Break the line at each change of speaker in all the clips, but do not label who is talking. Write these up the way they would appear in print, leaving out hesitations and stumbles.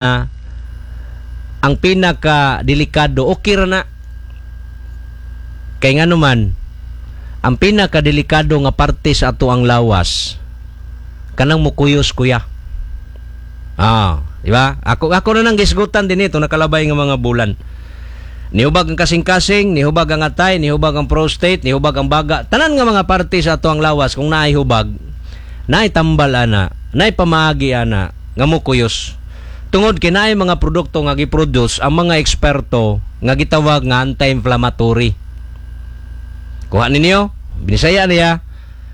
Ang pinaka delikado, okay ra na. Kay ngano man, ang pinaka delikado nga parte sa ato ang lawas kanang mukuyos, kuya. Ah, di ba? Ako na nang gisgutan din ito nakalabay nga mga bulan. Nihubag ang kasing-kasing, nihubag ang atay, nihubag ang prostate, nihubag ang baga. Tanan nga mga parte sa ato ang lawas kung naay hubag, naay tambal ana, naay pamaagi ana nga mukuyos. Tungod kay naay mga produkto nga giproduce ang mga eksperto nga gitawag nga anti-inflammatory. Kuha ninyo, Binisaya niya.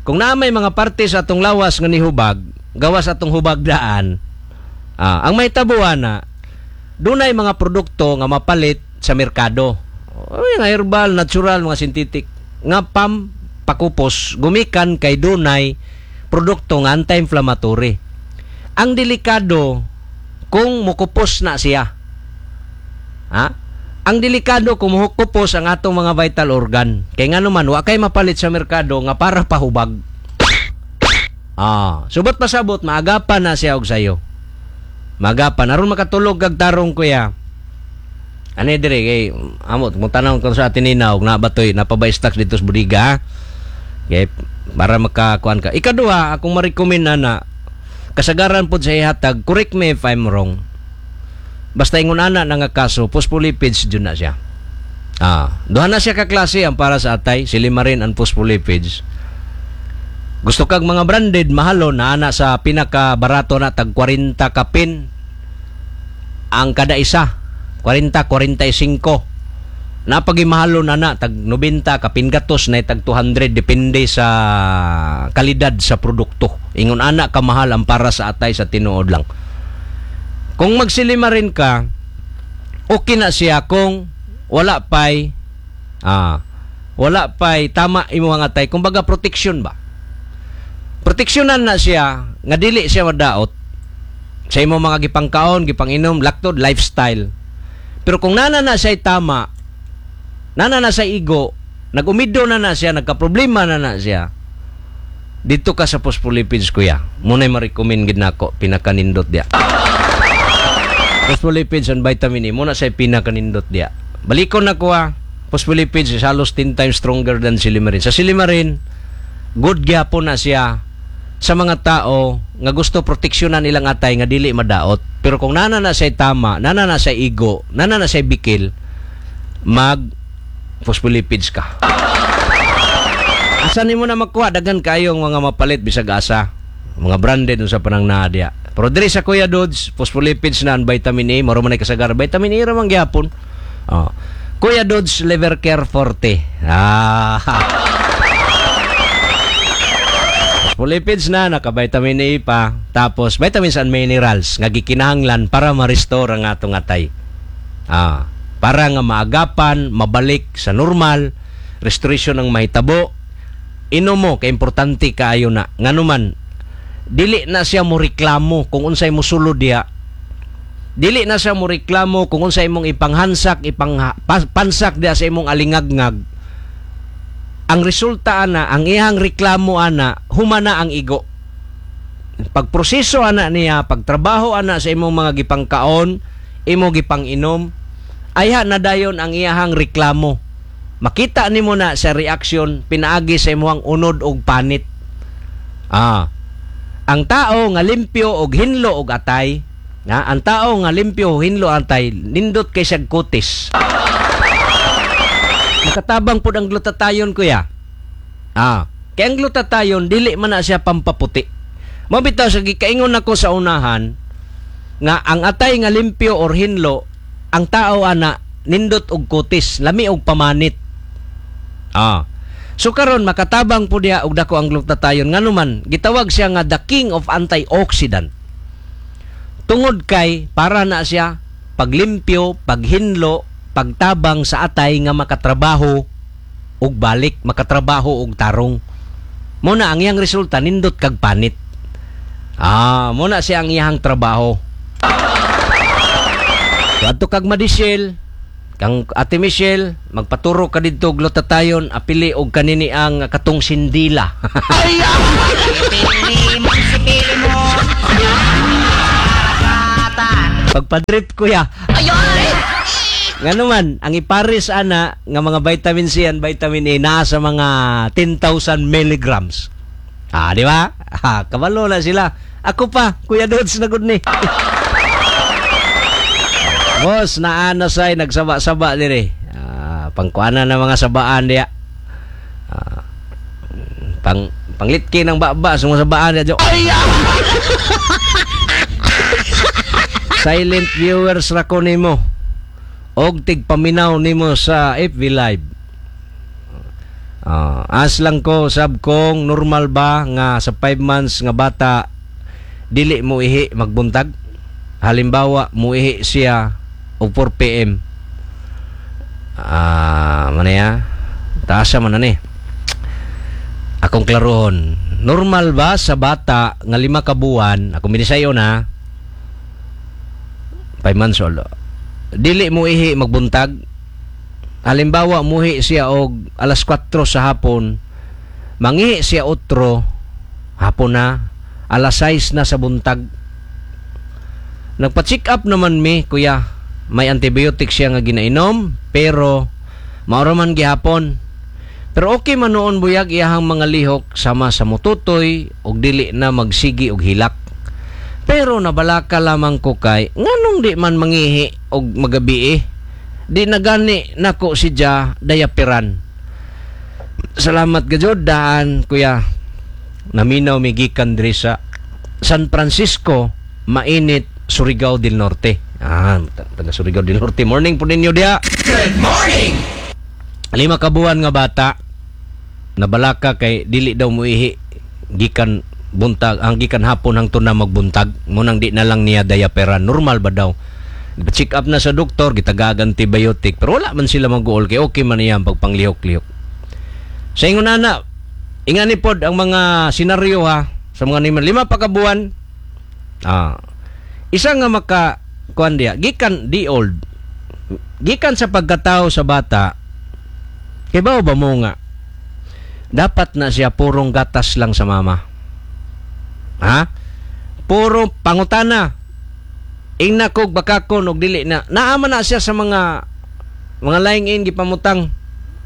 Kung naa may mga parte sa atong lawas nga nihubag, gawas atong hubag daan, ang may tabuan na, dunay mga produkto nga mapalit sa merkado. Oy, nga herbal, natural, mga synthetic nga pam pakupos gumikan kay dunay produkto nga anti-inflammatory. Ang delikado kung mukupos na siya. Ha? Ang delikado kung mukupos ang atong mga vital organ. Kay ngano man wa kay mapalit sa merkado nga para pahubag. Subot pasabot maagapan na siya og sayo. Maagapan aron makatulog kag tarong, kuya. Ani dire kay amot mo tan-aw ko sa atin nina og nabatoy napabay stocks dito sa bodega. Ha? Kay para makakuan ka. Ikaduha, akong ma-recommend na kasagaran pod sa ihatag, correct me if I'm wrong. Basta ingon ana na nga kaso, phospholipids jud na siya. Duha na siya ka klase ang para sa atay, silymarin and phospholipids. Gusto kag mga branded, mahalo na ana sa pinaka barato na tag 40 kapin ang kada isa. 40, 45. Napagimahalo na na tag 90 kapin gatos na tag 200, depende sa kalidad sa produkto. Ingon ana kamahal ang para sa atay sa tinuod lang. Kung magsilymarin ka, okay na siya kung wala pay tama imo ang atay, kumbaga protection ba. Proteksyonan na siya nga dili siya madaot sa imo mga gipangkaon, gipanginom, laktod, lifestyle. Pero kung nana na siya tama, nana na siya igo, nagumido na na siya, nagka-problema na na siya, dito ka sa phospholipids, kuya. Muna'y ma-recommend gid nako, pinakanindot diya. Phospholipids and vitamin E, muna siya pinakanindot diya. Balikon na ko ha, phospholipids is halos 10 times stronger than silymarin. Sa silymarin, good gyapon na siya sa mga tao nga gusto proteksyonan ilang atay nga dili madaot. Pero kung nana na siya tama, nana na siya igo, nana na siya bikil, mag phospholipids ka. Asa nimo na makuha? Daghan kayong mga mapalit bisag asa. Mga branded unsa pa nang naa diya. Pero diri sa Kuya Dodge, phospholipids na ang vitamin A, maro man ay kasagar. Vitamin A ra man gyapon. Oh. Kuya Dodge Liver Care Forte. Phospholipids na, naka-vitamin A pa. Tapos, vitamins and minerals nga gikinahanglan para ma-restore ang atong atay. Para nga maagapan, mabalik sa normal, restoration ng mahitabo. Inom mo, kay importante kaayo na. Nganuman, dili na siya mo reklamo kung unsay mo sulod diha. Dili na siya mo reklamo kung unsay imong ipanghansak, pansak diha sa imong alingagngag. Ang resulta ana, ang iyang reklamo ana, humana ang igo. Pagproseso ana niya, pagtrabaho ana sa imong mga gipangkaon, imo gipanginom, ayha na dayon ang iyahang reklamo. Makita nimo na sa reaksyon pinaagi sa imong unod og panit. Ang tao nga limpyo og hinlo og atay, na ang tao nga limpyo og hinlo atay, nindot kay siyag kutis. Makatabang pud ang glutathione, kuya. Kay ang glutathione dili man na siya pampaputi. Mao bitaw sa gikaingon nako sa unahan nga ang atay nga limpyo or hinlo, ang tao ana nindot og kutis, lami og pamanit. So karon makatabang pud diha og dako ang glutathione, nganuman gitawag siya nga the king of antioxidant. Tungod kay para na siya paglimpyo, paghinlo, pagtabang sa atay nga makatrabaho og balik, makatrabaho og tarong. Muna ang iyang resulta nindot kag panit. Muna siya ang iyang trabaho. So, adto kag Madishel, kang Ate Michelle, magpaturo ka didto glutathione, apili og kanini ang katong sindila.
Pili mo si pili mo. Karagatan.
Pagpadrip, kuya. Ngano man, ang ipares ana nga mga vitamin C and vitamin A naa sa mga 10,000 milligrams. Ah, di ba? Ah, kabalo na sila. Ako pa, Kuya Dodds na gud ni. Boss, naa na say nagsaba-saba dire. Ah, pangkuanan na mga sabaan diya. Ah, panglitki ng baba sa mga sabaan diya. Ay! Silent viewers ra ko nimo. Og tigpaminaw nimo sa FB Live. Ah, as lang ko sab kong normal ba nga sa 5 months nga bata dili mo ihi magbuntag? Halimbawa, muihi siya og 4 p.m. Ah, man ya? Taas man na ni. Akong klarohon. Normal ba sa bata nga 5 ka buwan, ako minisayo na, 5 months old, dili mo ihi magbuntag? Halimbawa, muhi siya og alas 4 sa hapon, mangihi siya 8, hapon na, alas 6 na sa buntag. Nagpa-check up naman mi, kuya. May antibiotic siya nga ginainom, pero maura man gihapon. Pero okay man noon buyag iyahang mga lihok sama sa mututoy og dili na magsigi og hilak. Pero nabalaka lamang ko kay nganong di man mangihi og magabi eh. Di na gani nako si Ja dayapiran. Salamat gajud daan, kuya. Naminaw mi gikan diri sa San Francisco, Mainit, Surigao del Norte. Ah, taga Surigao del Norte. Morning po ninyo diya.
Good morning!
5 ka buwan nga bata nabalaka kay dili daw muihi gikan buntag ang gikan hapon hangtod na magbuntag, munang di na lang niya diaperan. Normal ba daw? Check up na sa doktor, gitagaag antibiotic, pero wala man sila mag-uol kay okay man niya ang pagpanglihok-lihok. Sa ingon ana, ingani pod ang mga senaryo ha sa mga niman 5 pa ka buwan. Ah, isa nga maka kuan diya gikan di old gikan sa pagkatao sa bata. Kay bao ba mo nga dapat na siya purong gatas lang sa mama? Ha? Puro pangutana. Ingna kog bakakon og dili na. Naama na siya sa mga lying in gipamutang.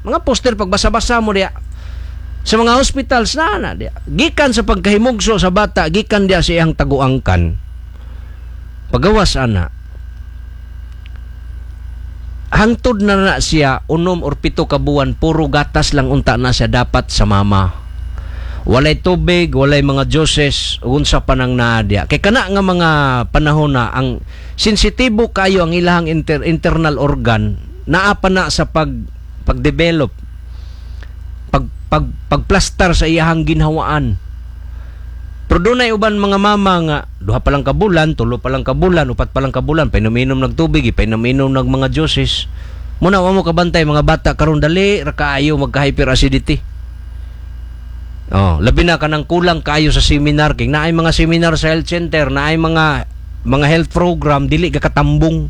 Mga poster pagbasa-basa mo diya. Sa mga hospitals na na diya. Gikan sa pagkahimugso sa bata, gikan diya sa iyang taguangkan. Pagawas ana, hangtod na na siya 6 or 7 ka buwan, puro gatas lang unta na siya dapat sa mama. Walay tubig, walay mga juices, unsa pa nang naa diya. Kay kana nga mga panahon na ang sensitibo kayo ang ilahang internal organ, naa pa na sa pagdevelop, pagplastar sa iyahang ginhawaan. Pero dunay uban mga mama nga 2 pa lang ka bulan, 3 pa lang ka bulan, 4 pa lang ka bulan, painom-inom nag tubig, ipainom-inom nag mga juices. Muna wa mo kabantay mga bata karon dali ra kaayo magka-hyperacidity. Oh, labi na kanang kulang kaayo sa seminar kay naay mga seminar sa health center, naay mga health program dili ka katambong.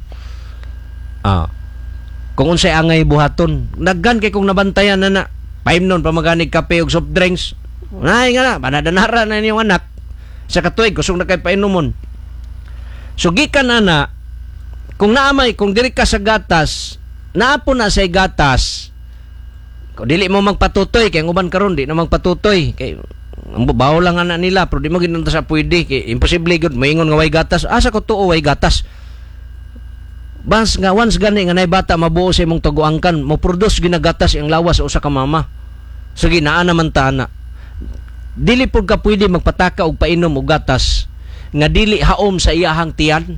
Kung unsay angay buhaton, daghan kay kung nabantayan na na. Paimnon pa maganig kape ug soft drinks. Nay nga na, panadanara na niyong anak. Sa katuig kusog na kay painomon. So gikan ana, kung naamay, kung diri ka sa gatas, naapo na say gatas. Kung dili mo magpatutoy, kay ang uban karon di na magpatutoy, kay ang bawo lang ana nila, pero di mo ginunta sa pwede, kay imposible gud moingon nga way gatas. Asa ko tuo way gatas? Bas nga once gani nga nay bata mabuo sa imong taguangkan, mo produce ginagatas ang lawas sa usa ka mama. Sige, naa naman ta ana. Dili pud ka pwede magpataka og painom og gatas nga dili haom sa iyahang tiyan.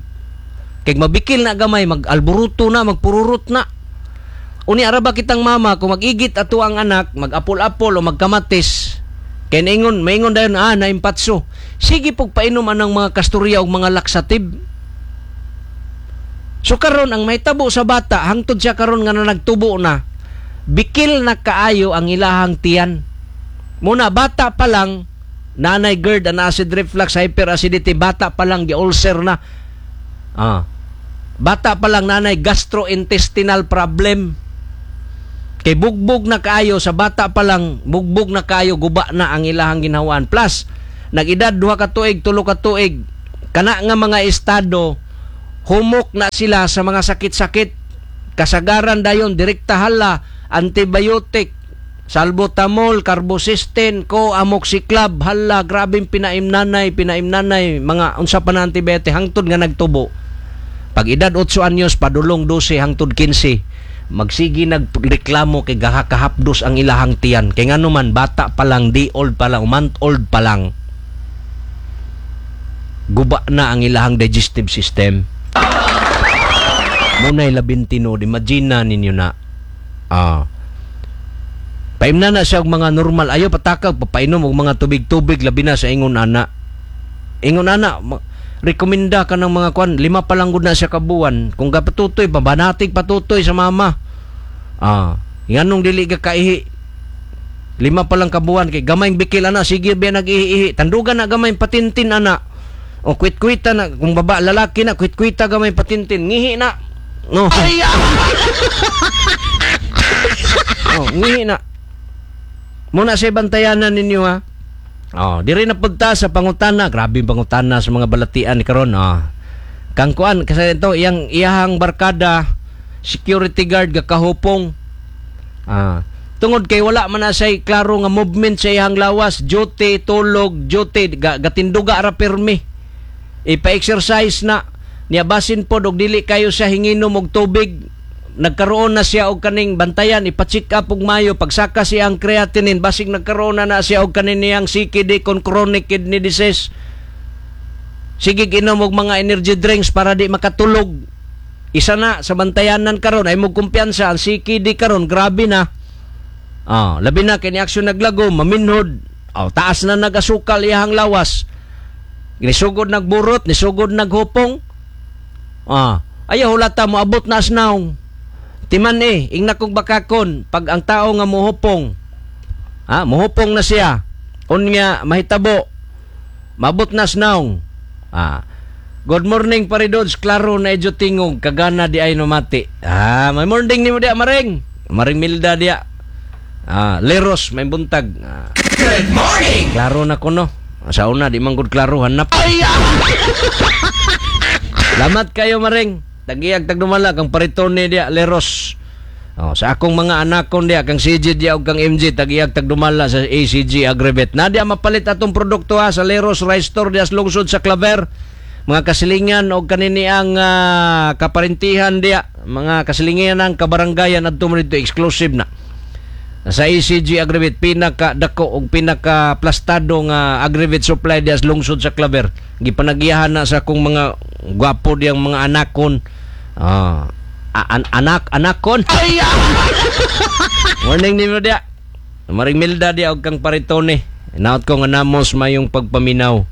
Kay mabikil na gamay, mag-alboruto na, magpururot na. Uni ara ba kitang mama kung mag-igit ato ang anak, mag-apol-apol o magkamatis, kay naingon, maingon dayon, naimpatso. Sige pug painom anang mga kasturya og mga laksative. So karon ang mahitabo sa bata hangtod siya karon nga nagtubo na, bikil na kaayo ang ilahang tiyan. Muna bata pa lang nanay GERD and acid reflux, hyperacidity, bata pa lang gi-ulcer na. Bata pa lang nanay gastrointestinal problem. Kay bugbog na kaayo sa bata pa lang, bugbog na kaayo, guba na ang ilahang ginhawaan. Plus nag-edad 2 ka tuig, 3 ka tuig, kana nga mga estado Humok na sila sa mga sakit-sakit. Kasagaran dayon direkta hala antibiotic, salbutamol, carbocisteine, ko amoxiclav, hala grabeng pinaimnanay, pinaimnanay mga unsa pa na antibiotic hangtod nga nagtubo. Pag edad 8 anyos padulong 12 hangtod 15, magsigi nagreklamo kay gahakahapdos ang ilahang tiyan. Kay ngano man, bata pa lang, day old pa lang, month old pa lang, guba na ang ilahang digestive system. Muna'y labing tinuod, imagine na ninyo na. Paimna na siya og mga normal, ayaw patakag papainom og mga tubig-tubig, labi na sa ingon ana. Ingon ana, rekomenda ka ng mga kwan, 5 pa lang gud na siya kabuan. Kung gapatutoy, pabanatig patutoy sa mama. Nganong dili ka kaihi? 5 pa lang kabuan kay gamayng bikil ana, sige biya nag-ihi-ihi. Tandugan na gamay patintin ana. O kwit-kwita na, kung baba lalaki na, kwit-kwita gamay patintin, ngihi na. No. Oh, ngihi na. Muna sa bantayanan ninyo ha. Oh, diri na pagta sa pangutana, grabe yung pangutana sa mga balatian ni karon. Oh. Kang kuan kasi ito iyang iyahang barkada security guard gakahupong. Tungod kay wala man na siya'y klaro nga movement sa iyang lawas, duty, tulog, duty, gatinduga ra pirmi. Ipa-exercise na niya basin pod og dili kayo siya hinginom og tubig. Nagkaroon na siya og kaning bantayan, ipa-check up og mayo, pagsaka siya ang creatinine, basig nagkaroon na na siya og kanin niyang CKD kon chronic kidney disease. Sige ginom og mga energy drinks para di makatulog. Isa na sa bantayanan karon ay mo kumpiyansa ang CKD karon, grabe na. Labi na kini aksyon naglago, maminhod. Taas na nagasukal iyang lawas. Nisugod nagburot, nisugod naghupong. Ayaw hulata mo abot na asnaw. Timan ingna kong bakakon pag ang tao nga muhupong. Muhupong na siya. Unya mahitabo. Mabot na asnaw. Good morning pare Dodge, klaro na edyo tingog kagana di ay numati. May morning nimo dia Maring. Maring Milda dia. Leros may buntag.
Good morning.
Klaro na kuno. Sa una di man gud klaro hanap. Salamat kayo Maring. Tagiyag tagdumala kang paritone dia Leros. Oh, sa akong mga anakon dia kang CJ dia ug kang MJ tagiyag tagdumala sa ACG Agrivet. Na dia mapalit atong produkto ha sa Leros Rice Store dia sa lungsod sa Claver. Mga kasilingan og kanini ang kaparintihan dia, mga kasilingan ang kabaranggayan adto mo dito exclusive na. Sa ACG Agrivet pinaka dako og pinaka plastado nga Agrivet supply dia sa lungsod sa Claver. Gipanagiyahan na sa akong mga gwapo diyang mga anakon. Anak anakon. Morning nimo dia. Maring Milda dia og kang paritone. Naot ko nga namos mayong pagpaminaw.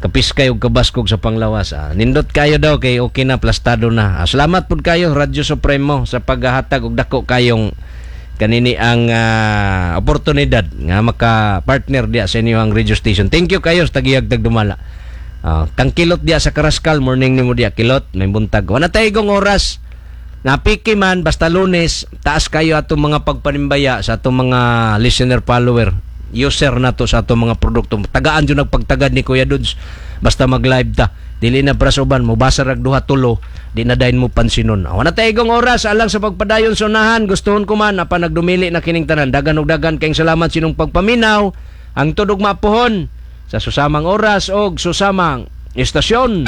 Kapiskay og kabaskog sa panglawas. Nindot kayo daw kay okay na plastado na. Salamat pud kayo Radyo Supremo sa paghatag og dako kayong kanini ang oportunidad nga maka-partner diya sa inyong radio station. Thank you kayo sa tagiyag tagdumala. Kang Kilot diya sa Karaskal, morning nimo diya Kilot, may buntag. Wala tayo igong oras. Napiki man basta Lunes, taas kayo atong mga pagpanimbaya sa atong mga listener follower, user nato sa atong mga produkto. Tagaan jud nagpagtagad ni Kuya Dudes. Basta mag-live ta. Dili na para sa uban, mobasa rag duha tulo, di na dayon mo pansinon. Wala tayo igong oras alang sa pagpadayon sa unahan. Gustuhon ko man apan nagdumili na kining tanan. Dagan og dagan kayong salamat sinong pagpaminaw. Ang tudog mapuhon sa susamang oras og susamang istasyon.